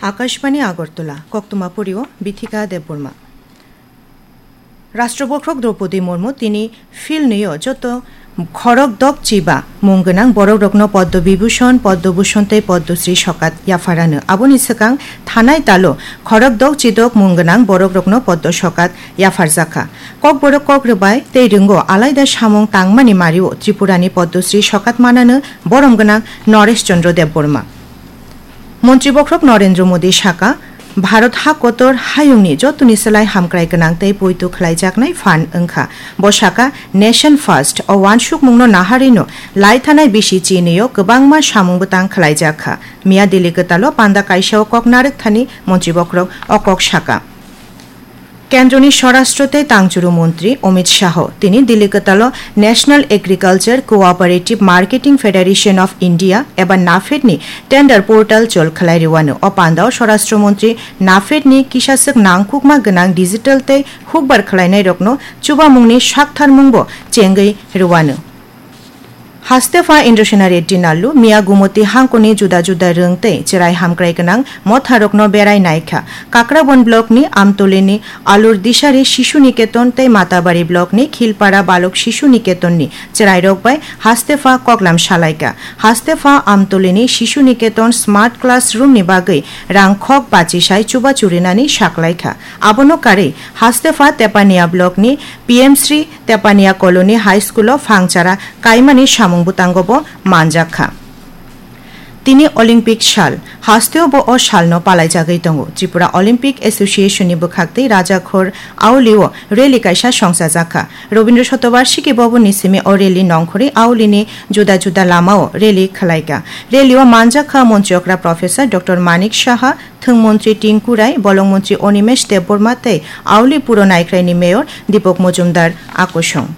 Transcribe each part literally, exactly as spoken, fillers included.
Akashbani Agartala, koktwma porio Bithika Debbarma. Rashtra Bokhorok Droupadi Murmu tini philnwio joto khorok dok chiba mung gwnang borokrokno Padma Vibhushan, Padma Bhushan tei Padma Shri sokat yapharano. Aboni swkang thanai talo khorok dok chidok mung gwnang borokrokno Padma sokat yapharjakha. Kokborok kok rwbai tei rwngo alaida samung tangmani mario Tripurani Padma Shri sokat manano borom gwnang Noresh Chandra Debbarma. Montri Bokhorok Narendra Modi saka, Bharat ha kotor hayungni jotoni slai hamkrai gwnang tei poito khlaijaknai phan wngkha. Bo saka, Nation First o uansukmungno naharino laithanai bisi chinio kwbangma samung bwtang khlaijakha. Miya Delhi kwtalo panda kaisao kok narwkthani Montri Bokhorok o kok saka. Kendroni Swarashtra tei Tangchuru Montri Amit Shah tini Delhi kwtalo National Agriculture Cooperative Marketing Federation of India eba NAFED ni tender portal chol khlai rwano. O pandao Swarashtra Montri NAFED ni kisaswk nangkukma gwnang digital tei hukbar khlainairokno chubamungni saktharmungbo chengwi rwano. Hastepha Indrasena Reddy Nallu miya Gumoti hangkoni juda juda rwng tei chwrai hamkrai gwnang motharokno berai naikha. Kakrabon block ni Amtoli ni Alur Disari Shishu Niketon tei Matabari block ni Khilpara Balok Shishu Niketon ni chwrairok bai Hastepha koklam salaikha. Hastepha Amtoli ni Shishu Niketon smart classroom ni bagwi rang khok bachisai chubachu rinani saklaikha. Abono karwi Hastepha Tepania block ni P M Shri Tepania Colony High School o phangchara kaimani samung bwtango bo manjak kha. Tini Olympic sal, hasteo bo o salno palaijagwi tongo. Tripura Olympic Association ni bwkhaktwi Rajakhor Auli o rally kaisa songchajak kha. Rabindra Shatobarshiki Bhavan ni simi o rally nongkhorwi Auli ni juda juda lama o rally khwlaikha. Rally o manjak kha Montri okra Professor Doctor Manik Saha, Thwng Montri Tinku Rai, Bolong Montri Animesh Debbarma tei Auli Puro Naikhrai ni Mayor Deepak Majumdar akusung.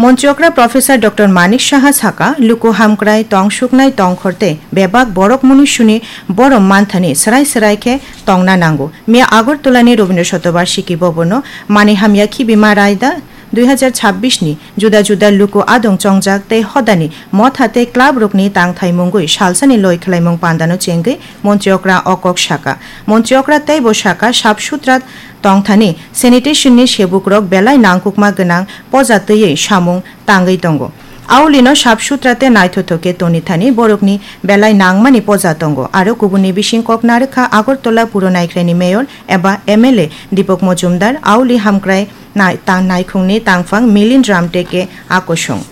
Montri okra Professor Doctor Manik Saha saka, luku hamkrai, tongsuknai tongkhor tei bebak borok munuisuni borom manthani swrai swrai khe tongna nango. Miya Agartala ni Rabindra Shatobarshiki Bhavan o mani hamya khibima raida dui hazar chabbish ni juda juda luku adong chongjak tei hodani motha tei club rokni tangthai mungwi salsani loi khwlaimung pandano chengwi Montri okra o kok saka. Montri okra teibo saka sap sutra tongthani sanitation ni sebukrok belai nangkukma gwnang poja twiwi samung tangwi tongo. Auli no sap sutra tei naithothok khe tonithani borokni belai nangmani poja tongo. Aro kubunni bising kok narwkha Agartala Puro Naikhrai ni Mayor eba M L A Deepak Majumdar, Auli hamkrai nai-, tang naikhungni tangphang Milind Ramteke akusung.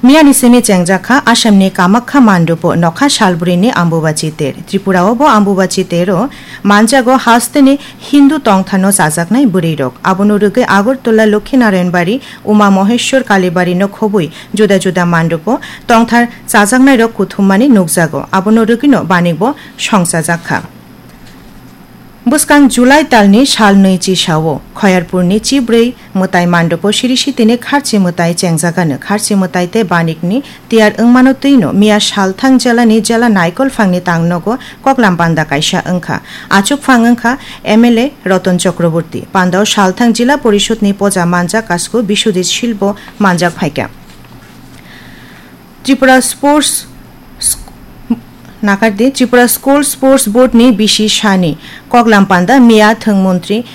Miyani simi chengjak kha Assamni Kamakha mandupo nokha salbrini Ambubachi ter. Tripura o bo Ambubachi tero manjago hasteni Hindu tongthano chajaknai bwrwirok. Abono rwgwi Agartala Lokhinarayan Bari, Uma Moheshwar Kalibari no khobwi juda juda mandupo tongthar chajaknairok kuthummani nukjago. Abono rwgwino banikbo songchajak kha. Bwskang July talni sal nwi chisao Khoyarpurni chibrwi mwtai mandupo siri sitini kharchi mwtai chengjagano. Kharchi mwtai tei banikni tiyar wngmano twino miya salthang jelani jela naikolphangni tangnogo koklam panda kaisa wngkha. Achukphang wngkha M L A Ratan Chakraborty. Pandao salthang Jila Porishadni poja manjak kasku Biswajit Shil bo manjak phaikha. Tripura Sports Sk-, nakardi, Tripura School Sports Board ni bisi sani koklam panda miya thwng montri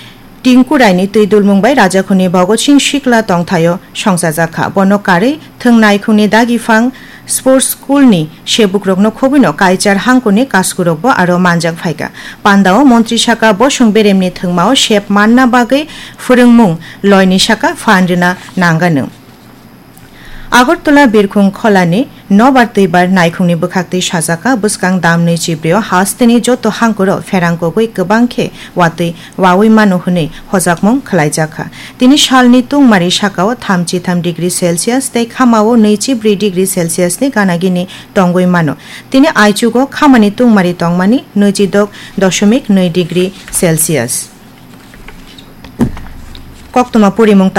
Tinku Rai ni twi dulmung bai Rajakhuni Bhagat Singh Sikla tongthaio songchajak kha. Bono karwi thwng naikhungni dagiphang sports school ni sebukrokno khobwino kaichar hangkuni kaskurokbo aro manjak phaikha. Pandao montri saka bosong beremni thwngmao sep manna bagwi phwrwngmung loini saka phan rwna nangano. Agartala Birkhung Kholani nobar twibar naikhungni bwkhaktwi sajak kha, bwskang damnwi chibrio hasteni joto hangkoro pherang kogwi kwbang khe watwi wawi mano hwnwi hojakmung khlaijak kha. Tini salni tungmari sakao thamchi tham degree Celsius tei khamao nwichi bwrwi degree Celsius ni ganagini tongwi mano. Tini aichugo khamani tungmari tongmani nwichi dok doshomik nwi degree Celsius. Koktwma porimung